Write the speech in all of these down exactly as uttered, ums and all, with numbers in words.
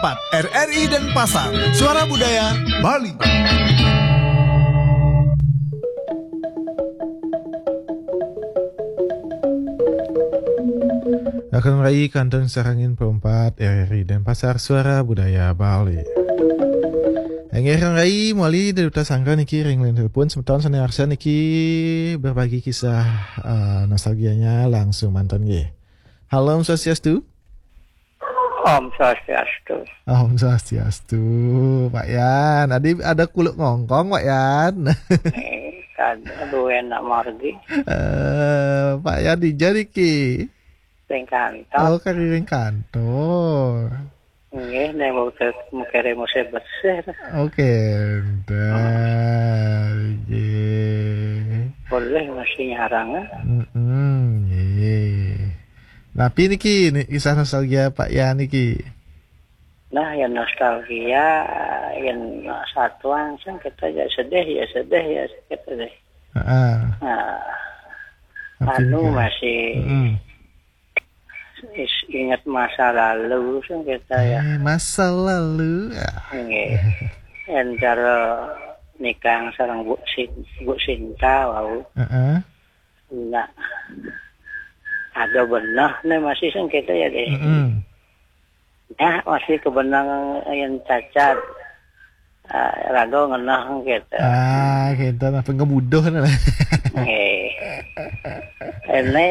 empat R R I Denpasar, Suara Budaya Bali. Akan rai kantun sarangin perempat R R I Denpasar, Suara Budaya Bali. Engge rai mawali da duta sangga niki ring line telepon, semeton sane arsa niki berbagi kisah, eh, nostalgianya langsung mantan nggih. Halo, Om Swastiastu. Om Swastiastu. Om Swastiastu, Pak Yan. Adi ada kuluk ngongkong, Pak Yan. Eh, kada duwe nak margi. Eh, Pak Yan dija niki? Ring kantor. Oh, kari ring kantor. Nggih, nek mau ke, mau kere mau bersih. Oke, entar. Nggih. Boleh masih nyarang, eh? Mm-mm, nggih. Napi niki, ni kisah nostalgia Pak Yan niki? Nah, ya nostalgia, yang satuan sing kita ya sedih, ya sedih, ya kita deh. Heeh. Nah, Napi anu niki? Masih Mm-mm. is-, ingat masa lalu sing kita ya. Eh, masa lalu. Ah. Nggih. Antara nikah sareng Bu Sin-, Bu Sinta wau. Heeh. Nah, ada beneh nih masih sing kita ya deh. Mm-mm. Nah, masih kebenang yang cacat. Ah, raga ngenah kita. Ah, kita napa ngebuduh nih. Eh. Ini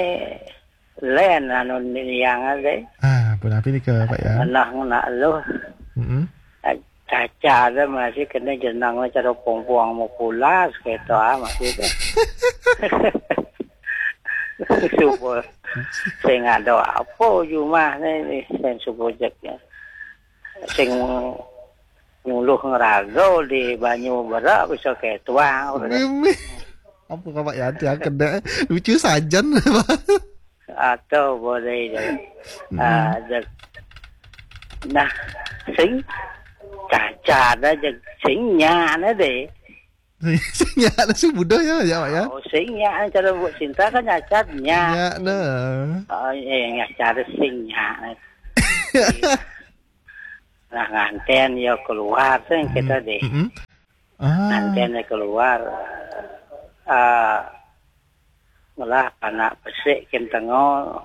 len anu yang ada. Ah, pun api ni ke Pak ya? Ngenah ngena lu. Mm-mm. Caca ada masih kena jenang cara pong-pong mau pulas gitu ah masih tu. Subuh. Sing ada apa jumah ni, ni sing subuh jek ya. Sing nyuluh ngeraga di banyu berak bisa ketuang. Mimi. Apa kau Pak Yanti yang kena lucu sajan. Atau boleh je. Hmm. Ah, je. Nah, sing caca ada je sing nyana deh. Sing nyana sing budak ya, ya Pak ya. Oh, sing nyana cara buat cinta kan nyacatnya. Ya, nah. Oh, iya, yang cara sing nyana. Nah, nganten ya keluar sing kita deh. Mm-mm. Ah. Nganten ya keluar. Ah, malah anak besik kentengo.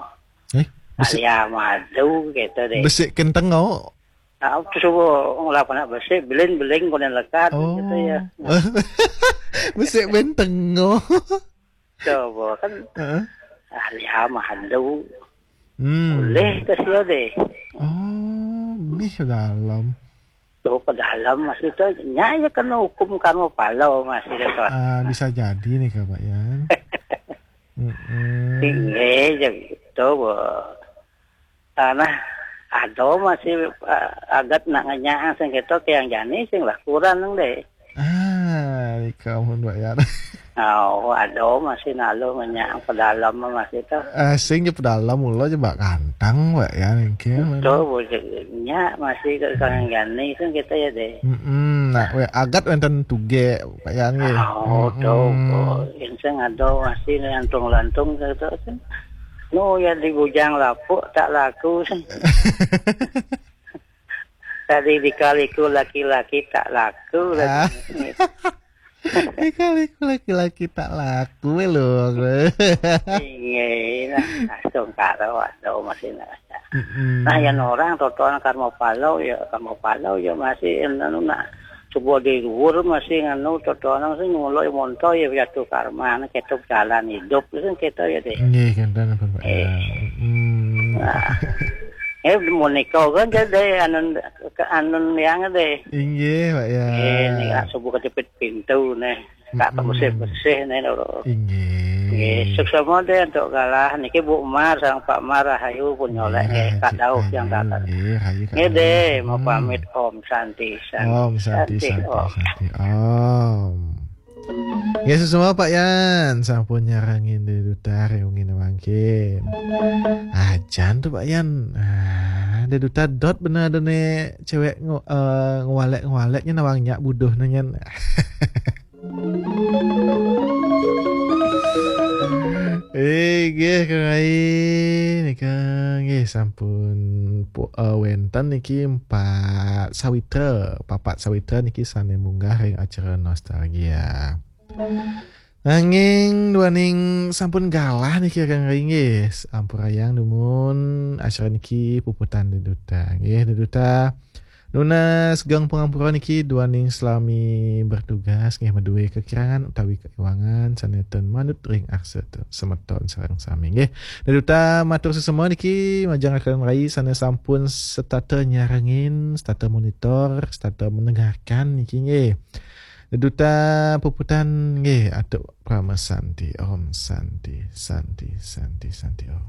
Eh, besik. Alia madu gitu deh. Besik kentengo. Ah, terus subuh ngelap anak besik, beling-beling konen lekat gitu ya. Oh. Besik bentengo. Coba kan. Heeh. Alia madu. Hmm. Boleh ke sio deh. Oh, mih dalam. Tu ke dalam masih tu, nya ya kena hukum karma pala masih tu. Ah, bisa jadi ni ke Pak Yan. Mm-mm. Tinggi je gitu. Ah, nah, ada masih, ah, agat nak ngenyang sing gitu ke yang jani sing lah kurang nang deh. Ah, ika mun Pak Yan. Oh, ada masih naluh ngenyang pedalam masih tu. Ah, sing je pedalam mula je bak kantang Pak Yan engke. Tu bujuknya masih ke kang jani sing kita ya deh. Mm-mm. Nah, we agat wenten tuge Pak Yan nggih. Oh, tu. Mm-mm. Yang sing ada masih lantung-lantung gitu sing. Nu ya di bujang lapuk tak laku sing. Tadi dikaliku laki-laki tak laku lagi. Ah. Dikaliku laki-laki tak laku lho. Inggih, nah, langsung karo ada masih nak. Mm-mm. Nah, yang orang totoan karma palau ya, karma palau ya masih anu nak coba di luar masih nganu totoan sing ngulo monto ya jatuh karma, anu, ketok jalan hidup itu kita ya deh. Nggih, kenten pun Pak. Eh. Ya. Mm. Nah. Eh, mau nikah kan jadi anun, ke anun yang deh. Inggih, Pak ya. Eh, ni lah subuh kejepit pintu nih. Tak Mm-mm. Bersih-bersih nih lho. Inggih. Nggih, suksma deh untuk galah niki Bu Mar sama Pak Mar rahayu pun nyolek nggih, nggih, Kak Daud yang datang. Nggih, rahayu Kak Daud. Nggih deh, mau pamit. Hmm. Om Santi, Santi. Om Santi, Santi, Santi, Om. Santi, Om. Ya, suksma Pak Yan, sampun nyarengin Dé Duta ring wengi mangkin. Ajan tu Pak Yan. Ah, Dé Duta dot bener ada né cewek ngo-, eh, ngwalek-ngwalek nyen awang nyak buduh né nyen. Eh, nggih, Kang Rai. Nika, nggih, sampun pu- eh, wenten niki empat sawitra, papat sawitra niki sane munggah ring acara nostalgia. Nanging duaning sampun galah niki kakang rai nggih. Ampurayang dumun acara niki puputang deduta. Nggih, deduta. Nunas geng pangampura niki duaning selami bertugas nggih, madue kekirangan utawi kaiwangan sane ten manut ring aksa te-, semeton sareng sami nggih. Deduta matur sesama niki majeng kakang rai sane sampun setata nyarengin, setata monitor, setata mendengarkan niki nggih. Deduta puputang nggih, atur Parama Santi. Om Santi, Santi, Santi, Santi Om.